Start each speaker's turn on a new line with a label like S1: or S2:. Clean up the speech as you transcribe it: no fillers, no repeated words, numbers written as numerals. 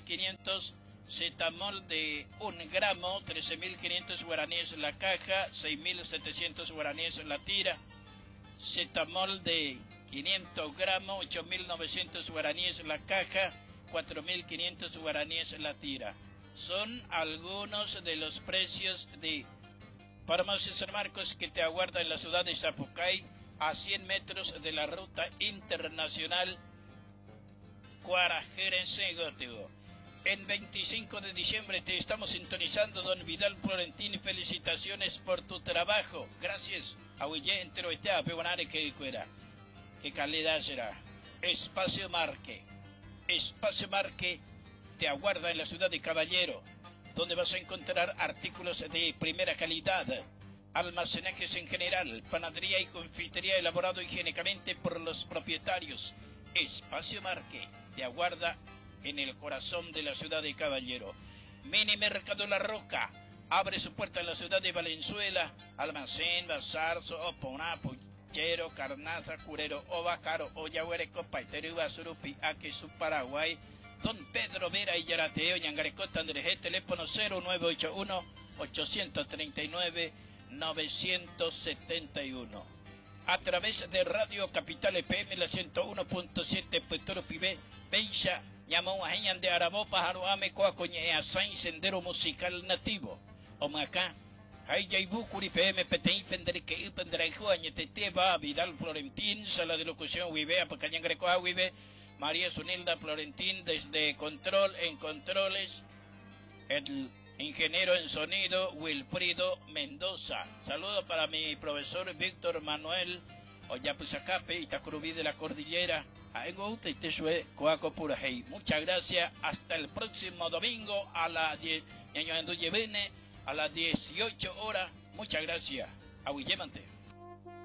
S1: 4.500. Cetamol de 1 gramo, 13.500 guaraníes la caja, 6.700 guaraníes la tira. Cetamol de 500 gramos, 8.900 guaraníes la caja, 4.500 guaraníes la tira. Son algunos de los precios de Farmacia San Marcos que te aguarda en la ciudad de Zapucay, a 100 metros de la ruta internacional Cuarajerense-Gótigo. En 25 de diciembre te estamos sintonizando, don Vidal Florentín. Felicitaciones por tu trabajo. Gracias. Ahuille entero que cuera. Qué calidad será. Espacio Marque. Espacio Marque te aguarda en la ciudad de Caballero, donde vas a encontrar artículos de primera calidad, almacenajes en general, panadería y confitería elaborado higiénicamente por los propietarios. Espacio Marque te aguarda en el corazón de la ciudad de Caballero. Mini Mercado La Roca abre su puerta en la ciudad de Valenzuela, almacén, bazar, soponá, puchero, carnaza, curero, ovacaro, ollahuereco, paitero, Iguazurupi, Aque, Paraguay, Don Pedro Vera y Yarateo, Ñangarecota, Andrés, teléfono 0981 839 971. A través de Radio Capital FM, la 101.7, Puerto Pibe, Beisha, Llamó a de Arabó, Pájaro Ame, Coacoñe, Asain, Sendero Musical Nativo. Omacá, Hayaybucuri, PM, PTI, Pendreque, Pendrejo, Añeteteba, Vidal Florentín, Sala de Locución, Huibea, Pacañangrecoa, Huibe, María Sunilda Florentín, desde Control en Controles, el ingeniero en sonido Wilfrido Mendoza. Saludo para mi profesor Víctor Manuel Oyapuzacape, Itacurubí de la Cordillera. Muchas gracias. Hasta el próximo domingo a las 10, a las 18 horas. Muchas gracias. Aguillemante.